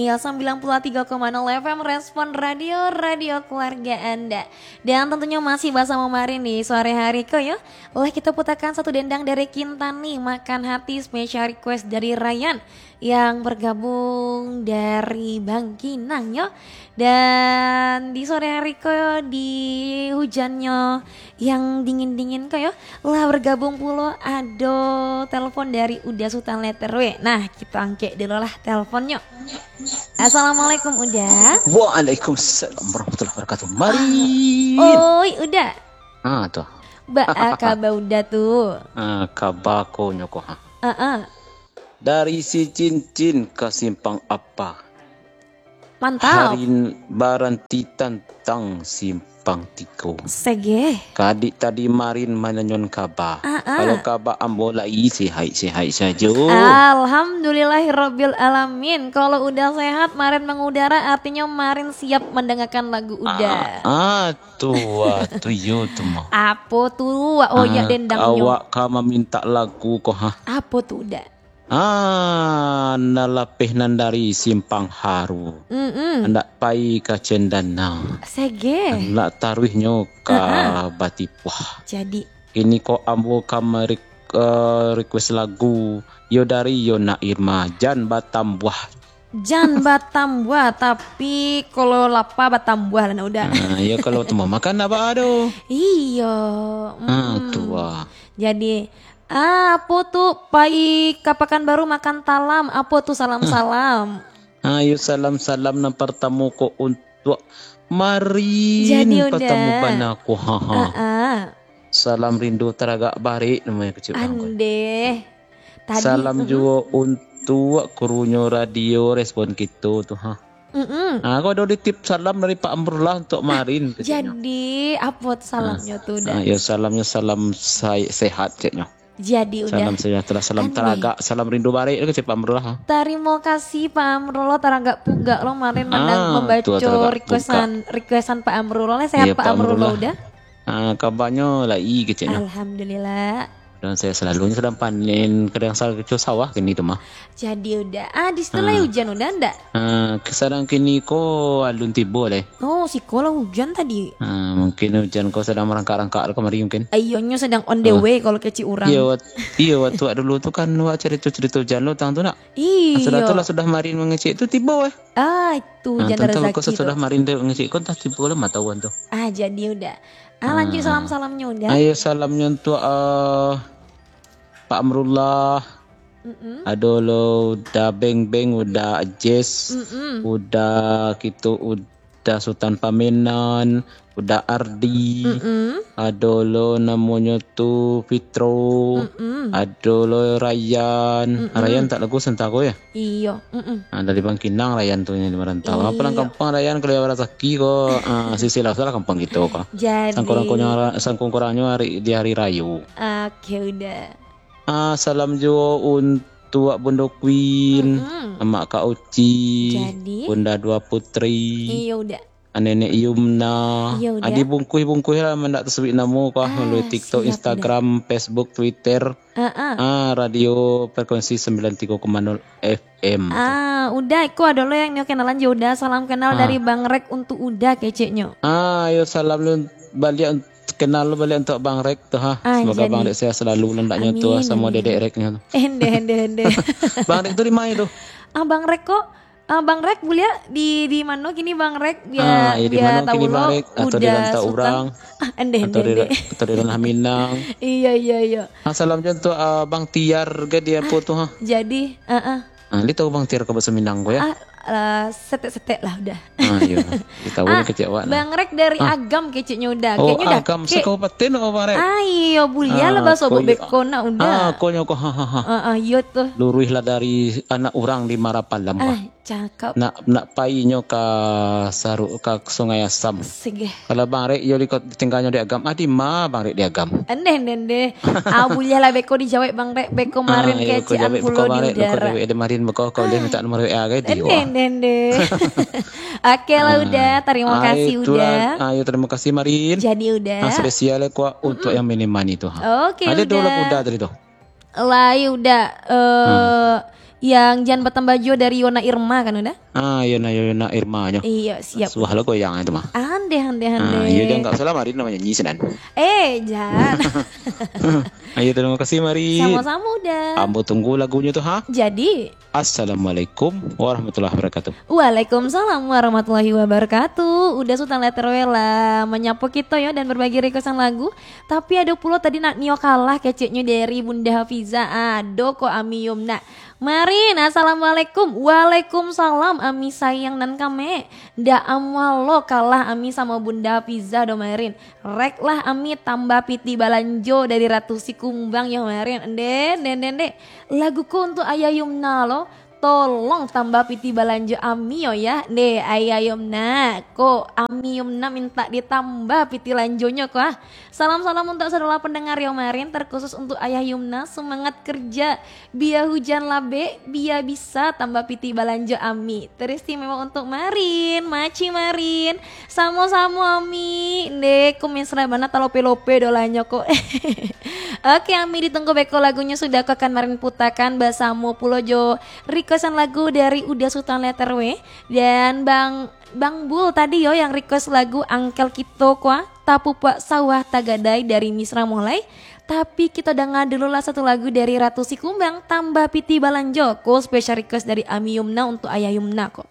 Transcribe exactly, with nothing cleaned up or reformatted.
Ya, sembilan puluh tiga koma nol F M Respon Radio, radio keluarga Anda. Dan tentunya masih bersama Marin di sore hari ko yo. Lah kita putarkan satu dendang dari Kintani, Makan Hati, special request dari Ryan yang bergabung dari Bangkinang yo. Dan di sore hari ko yo, di hujannyo yang dingin-dingin ko yo, lah bergabung pulo ado telepon dari Uda Sutan Letter W. Nah, kita angkek dulu lah teleponnyo. Assalamualaikum, Uda. Waalaikumsalam warahmatullahi wabarakatuh. Mari. Oi, Uda. Ah, tu. Ba, ah, kaba Uda tu? Ah, kaba ko nyo ko, ha. Ah, ah. Dari si cincin ka simpang apa? Mantap. Hari baranti tantang simpang tigo. Segeh. Kadik tadi Marin mananyon kaba. Ah, ah. Kalau kaba ambo lai sehat-sehat sajo. Alhamdulillahirabbil alamin. Kalau Uda sehat, Marin mangudara, artinyo Marin siap mandangakan lagu Uda. Ah, ah, tu, ah, tu yo tu mah. Apo tu, wak oyak dendang nyo? Awak ka mamintak lagu ko, ha. Apo tu, Uda? Ah, nan lapeh nan dari Simpang Haru. Mm-mm. Andak pai ka Cendana. Segeh. Andak taruihnyo ka Batipuah. Jadi. Kini ko ambo ka merik-, eh, request lagu yo dari Yona Irma, Jan Batambuah. Jan batambuah, tapi kalau lapa batambuah lah nak Uda. Ah, yo kalau batambuah makan apa ado? Iyo. Ah, mm-mm. Tu ah. Jadi, ah, apo tu, pai ka Pakanbaru makan talam, apo tu salam-salam? Ah, yo salam-salam nan partamo ko untuak Marin. Jadi, Uda. Partamo bana ko, ha, ha. Ah, ah. Salam rindu taragak barek namonyo kecek urang ko. Andeh. Tadi, salam mm-mm. Juo untuak krunyo radio Respon Kito tu, ha. Mm-mm. Ah, ko ado ditip salam dari Pak Amrullah untuak Marin, keceknyo. Jadi, apo salamnyo tu, Uda? Ah, yo, salamnyo salam sai-, sehat, ceknyo. Jadi, Uda. Salam sejahtera, salam taragak, salam rindu barek, kecek Pak Amrullah, ha. Tarimo kasih, Pak Amrullah, taragak pugak lo Marin mandang, ah, mambaco tu taragak requestan, pugak. Requestan Pak Amrullah. Sehat, iyo, Pak Amrullah, Uda? Ah, kabanyo lai keceknyo. Alhamdulillah. Dan saya selalunya sedang panen, kadang sa-, sawah kini tu mah. Jadi Uda. Ah, di situ lai ujan Uda ndak? Ah, sadang kini ko alun tibo lai. Oh, siko lah ujan tadi. Ah, mungkin ujan ko sadang marangkak-rangkak kamari mungkin. Iyonyo sadang on the way kalau kecek urang. Iyo, wat-, iyo, waktu dulu tu kan wak carito-carito ujan lo tang tu nak. Iyo. Sudah tu lah, sudah Marin mangecek tu tibo eh. Ah, itu ujan rezeki tu. Sudah Marin mangecek ko tah tibo lah mah tahuan tu. Ah, jadi Uda. Ah, lanjut salam-salamnyo Uda. Ayo salamnyo untuk, eh, Pak Amrullah. Mm-mm. Ado lo Uda Beng Beng, Uda Jess, mm-mm. Uda kito, Uda Sutan Pamenan, Uda Ardi. Mm-mm. Ado lo namonyo tu Fitro. Mm-mm. Ado lo Rayyan. Mm-mm. Rayyan tak lagu sentako ya? Iyo, mm-mm. Ah, dari Bangkinang Rayyan tu yang di marantau. Iyo. Pulang kampung Rayyan, kalau rasaki ko, ah, sisilah salah kampung kito ko. Jadi. Sangkurang-kurangnyo, sangkurang-kurangnyo hari, di hari rayo. Oke, Uda. Ah, salam juo untuk Bundo Queen, mm-mm. Amak Kak Uci, jadi. Bunda Dua Putri. Iyo, Uda. Nenek Yumna. Iyo, Uda. Adi bungkuih-bungkuih lah, mandak tasabuik namo ko, ah, melalui TikTok, siap, Uda. Instagram, Facebook, Twitter. Ah, ah. Ah, radio frekuensi sembilan tiga koma nol F M. Ah, Uda, iko ado lo yang nio kenalan jo Uda. Salam kenal dari Bang Rek untuk Uda, keceknyo. Ah, ayo salam lu baliak un-, kenal lu baliak untuk Bang Rek tu, ha. Ah, semoga jadi. Bang Rek sehat selalu, hendaknyo tu, amin, samo amin. Dedek Reknyo tu. Ende, ende, ende. Bang Rek tu di mana tu? Ah, Bang Rek ko Ah, Bang Rek, buliah di, di mano kini Bang Rek? Bia, ah, iya, di mano kini Bang Rek? Atau di rantau urang? Ah, ende, ende, ende. Atau di ranah Minang? Iya, iya, iya. Ah, salam jo untuk, ah, Bang Tiar ge di airport tu, ha. Jadi, heeh. Ah, dia tahu Bang Tiar ka bahasa Minang ko, ya? Ah, lah, setek-setek lah, Uda. Ah, iya. Dia tahu ni kecek awak, nah. Bang Rek dari Agam keceknyo, Uda. Oh, keceknyo Uda. Agam, sekabupaten, oh, Bang Rek? Ah, iya, buliah lah bahasa beko nak, Uda. Ah, konyo ko, ha, ha, ha. Ah, ah, iya tu. Luruih lah dari anak urang di Marapalam, ah. Cakap. Nak, nak painyo ka saru-, ka Sungai Asam. Segeh. Kalau Bang Rek, iyo di kot-, tinggalnyo di Agam. Ah, di ma Bang Rek di Agam? Endeh, endeh, endeh. Ah, buliah lah beko dijawek Bang Rek, beko marin kecek an pulo di udara. Ah, iyo, beko jawek beko marin, beko, kau boleh minta nomor W A ke, di. Endeh, endeh, endeh. Oke lah, Uda. Terima kasih, Uda. Ah, iyo, terima kasih, Marin. Jadi, Uda. Ah, spesial ya, kuat untuk yang mini-mani tu, ha. Oke, Uda. Ada dua lagu Uda tadi tu. Lai Uda, eh, Yang Jan Batambah Juo dari Yona Irma kan udah? Ah, Yona, Yona Irma nyo. Iya, siap. Suah lo goyang itu mah. Andeh, andeh, andeh. Ah, iya, dia nggak salah Marin namanya nyanyi senan. Eh, Jan. Ayo, terima kasih Marin. Sama-sama udah. Ambo tunggu lagunya tuh, ha. Jadi, Assalamualaikum warahmatullahi wabarakatuh. Waalaikumsalam warahmatullahi wabarakatuh. Udah Sultan Letter W lah menyapu kita ya dan berbagi requestan lagu. Tapi ada pulo tadi nak nio kalah keceknya dari Bunda Hafiza. Ado ko Ami Yumna. Marin, assalamualaikum. Waalaikumsalam Ami sayang nan kame. Ndak amuah lo kalah Ami sama Bunda Hafiza do Marin. Rek lah Ami tambah piti balanjo dari Ratu Sikumbang yo Marin. Nde, nde, nde, nde. Lagu ko untuk Ayah Yumna lo. Tolong tambah piti balanjo Ami yo ya. Nde, Ayah Yumna. Ko Ami Yumna minta ditambah piti lanjonyo ko ah. Salam-salam untuk saudara pendengar yo Marin, terkhusus untuk Ayah Yumna, semangat kerja. Bia hujan labek, bia bisa tambah piti balanjo Ami. Teristimewa untuk Marin, Maci Marin. Samo-samo Ami. Nde, ko mesra bana talope-lope dolanyo ko. Oke Ami, ditunggu beko lagunyo sudah ko akan Marin putakan basamo pulo jo requestan lagu dari Uda Sultan Letter W. Dan Bang Bang Bul tadi yo yang request lagu Angkel Kito ko ah, Tapupuak Sawah Tagadai dari Misra Molai. Tapi kita dengar dulu lah satu lagu dari Ratu Sikumbang, Tambah Piti Balanjo. Ko special request dari Ami Yumna untuk Ayah Yumna ko.